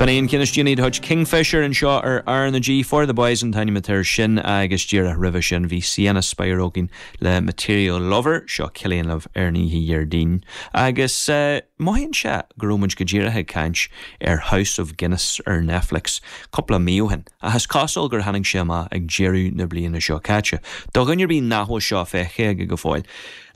B'in é an ceann is déanaí de chuid Kingfisher anseo ar R na G. For the Boys an t-ainm atá air sin agus díreach roimhe sin bhí Sienna Spiro againn le Material Lover, seo Cillian libh ar an oíche Dhéardaoin. Agus mothaíonn sé go raibh muid go díreach ag caint ar House of Guinness ar Netflix cúpla mí ó shin, ach is cosúil gur tháinig sé amach ag deireadh na bliana seo caite. Do dhuine ar bith nach bhfuil seo feicthe aige go fóill,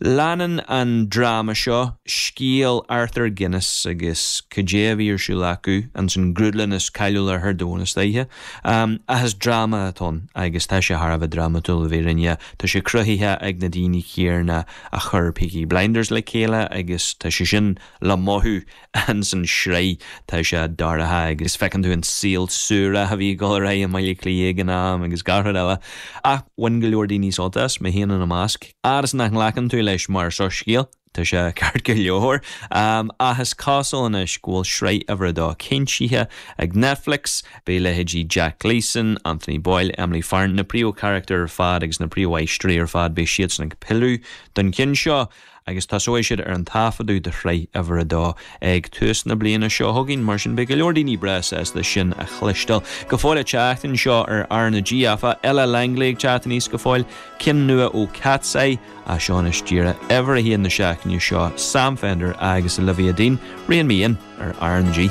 Leanann an dráma seo scéal Arthur Guinness agus cad é a bhí ar siúl acu ins an ghrúdlann is cáiliúla ar domhan is dóiche. Ach is dráma atá ann agus tá sé thar a bheith drámatúil le fírinne. Tá sé cruthaithe ag na daoine céanna a chuir Peaky Blinders le chéile agus tá sé sin le mothú ins an sraith. Tá sé dorcha agus feiceann tú an saol suarach a bhí ag dul ar aghaidh i mBaile Átha Cliath ag an am agus gach rud eile. Ach bhain go leor daoine sult as, mé féin ina measc. Fhad is nach nglacann tú leis mar soiscéal, tá sé ceart go leor. Ach is cosúil anois go bhfuil sraith uimhir a dó cinntithe ag Netflix. Beidh leithéidí Jack Gleeson, Anthony Boyle, Emily Farrant, na príomhcharachtair ar fad agus na príomhaisteoirí ar fad, beidh siadsan ag pilleadh don cheann seo. agus tosóidh siad ar an taifeadadh do shraith uimhir a dó ag tús na bliana seo chugainn. Mar sin, beidh go leor daoine breá sásta sin a chloisteáil. Go fóill ag teacht anseo ar R na G, áfach, Ella Langley ag teacht aníos go fóill, ceann nua ó Katseye, ach seo anois díreach uimhir a haon na seachtaine seo, Sam Fender agus Olivia Dean, Rein Me In ar R na G.